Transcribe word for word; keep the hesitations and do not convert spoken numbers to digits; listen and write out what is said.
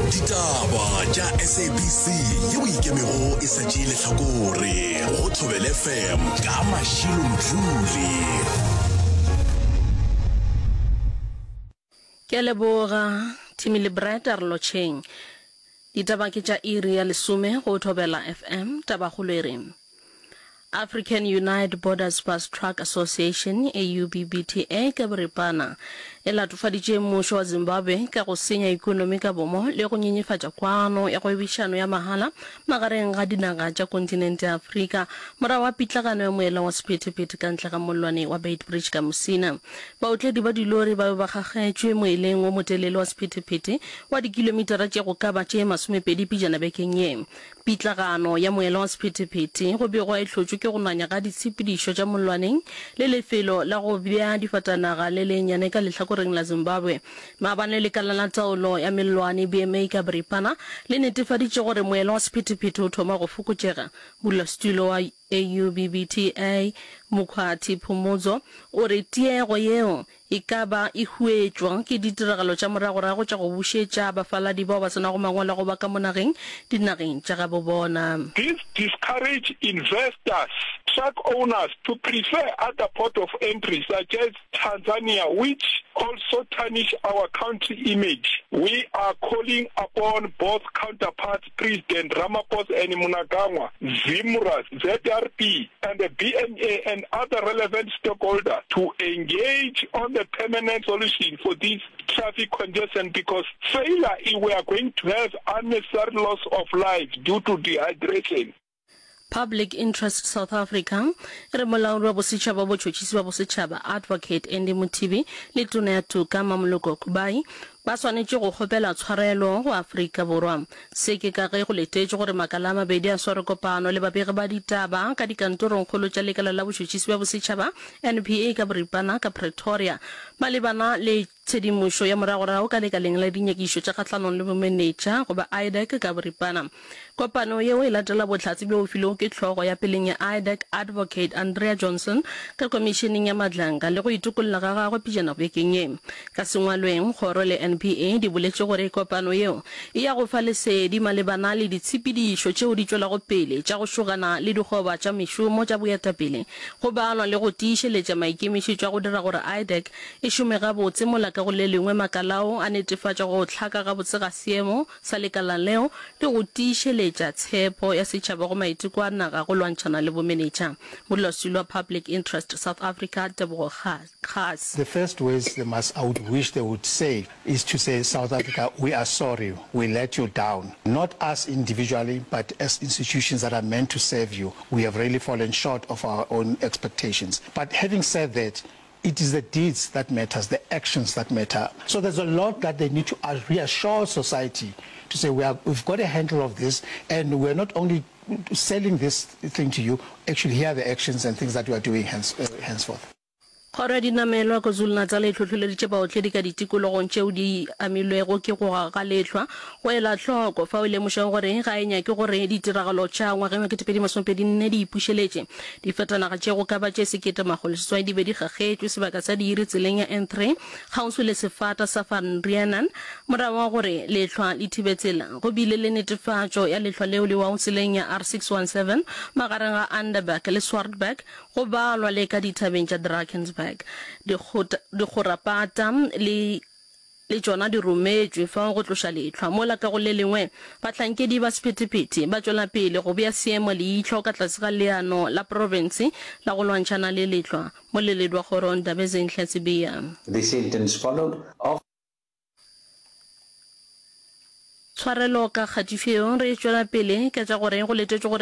Ditaba tša SABC yeo e ikemego e sa tšee lehlakore go Thobela FM ka Mashilo Mdluli. Ke a leboga Timmy le Brad a re lotšheng. Ditaba ke tša iri ya lesome go Thobela FM. Tabakgolo e re African Unite Borders Bus Truck Association, AUBBTA, ka boripana e latofaditše mmušo wa Zimbabwe ka go senya ekonomi ka bomo le go nyenyefatša kwano ya kgwebišano ya mahala magareng ga dinaga tša kontinente ya Afrika morago ga pitlagano ya moela wa sephethephethe ka ntle ga mollwane wa Beitbridge ka Musina. Baotledi ba dilori ba be ba kgakgetšwe moeleng wo motelele wa sephethephethe wa dikilomitara tše go ka ba tše masomepedi pejana bekeng ye. Pitlagano ya moela wa sephethephethe go begwa e hlotšwe ke go nanya ga ditshepedišo tša mollwaneng le lefelo la go bea difatanaga le lennyane ka lehlakoreng la Zimbabwe. Maabane lekala la taolo ya mellwane, B M A ka boripana, le netefaditše gore moela wa sephethephethe o thoma go fokotšega. Modulasetulo wa A U B B T A, Mokgwathi Phumudzo, o re tiego yeo e ka ba e huetšwa ke ditiragalo tša moragorago tša go bušetša bafaladi bao ba se nago mangwalo a go ba ka mo nageng dinageng tša gabo bona. This discourage investors, truck owners to prefer other port of entry such as Tanzania which also tarnish our country image. We are calling upon both counterparts President Ramaphosa and Mnangagwa, ZIMRA, Z R P and the B M A and other relevant stakeholders to engage on the permanent solution for this traffic congestion because failure we are going to have unnecessary loss of life due to dehydration. Public Interest South Africa e re molaodi wa bosetšhaba wa botšhotšhisi ba bosetšhaba Advocate Andy Mothibi le Tona ya Toka Mamoloko Kubayi ba swanetše go kgopela tshwarelo go Afrika Borwa. Se ke ka ge go letetšwe gore makala a mabedi a sware kopano le babegi ba ditaba ka dikantorongkgolo tša lekala la botšhotšhisi bja bosetšhaba N P A ka boripana ka Pretoria malebana le tshedimošo ya moragorago ka lekaleng la dinyakišo tša kgahlanong le bomenetša goba IDAC ka boripana. Kopano yeo e latela bohlatse bjo bo filwego ke hlogo ya peleng ya IDAC Advocate Andrea Johnson ka komišeneng ya Madlanga le go itokolla ga gagwe pejana bekeng ye. Ka sengwalweng, kgoro le N P A di boletše gore kopano yeo e ya go fa lesedi malebana le ditshepedišo tšeo di tšwelago pele tša go šogana le dikgoba tša mešomo tša boetapele go balwa le go tiišeletša maikemišetšo a go dira gore IDAC e šome gabotse mola ka go le lengwe makala ao a netefatša go hlaka gabotse ga seemo sa lekala leo le go tiišeletša tshepo ya setšhaba go maiteko a naga go lwantšhana le bomenetša. Modulasetulo wa Public Interest South Africa Tebogo Kgase. The first words they must, I would wish they would say is to say, South Africa, we are sorry, we let you down. Not us individually, but as institutions that are meant to serve you. We have really fallen short of our own expectations. But having said that, it is the deeds that matters, the actions that matter. So there's a lot that they need to reassure society to say we are, we've got a handle of this and we're not only selling this thing to you, actually here are the actions and things that we are doing hence, uh, henceforth. Kgoro ya Dinamelwa KwaZulu-Natal e hlohleleditše baotledi ka ditikologong tšeo di amilwego ke go ga lehlwa go ela hloko fao e lemošago gore ga e nyake gore ditiragalo tša ngwageng wa ketepedi masomepedi nne di ipušeletše. Difatanaga tše go ka ba tše sekete makgolo seswai di be di kgakgetšwe sebaka sa diiri tseleng ya N three kgauswi le sefata sa Van Reenan morago ga gore lehlwa le thibe tsela. Go bile le netefatšo ya lehlwa leo le wago tseleng ya R six one seven magareng ga Underberg le Swartberg go balwa le ka dithabeng tša Drakensberg. Dikgorapata le le tšona di rometšwe fao go tloša lehlwa, mola ka go le lengwe bahlankedi ba sephethephethe ba tšwela pele go bea seemo leihlo ka tlase ga leano la profense la go lwantšhana le lehlwa. Moleledi wa kgoro Ndabezinhle Sibiya. The sentence followed of. Tshwarelo ka kgatišo yeo re tšwela pele ka tša gore go letetšwe gore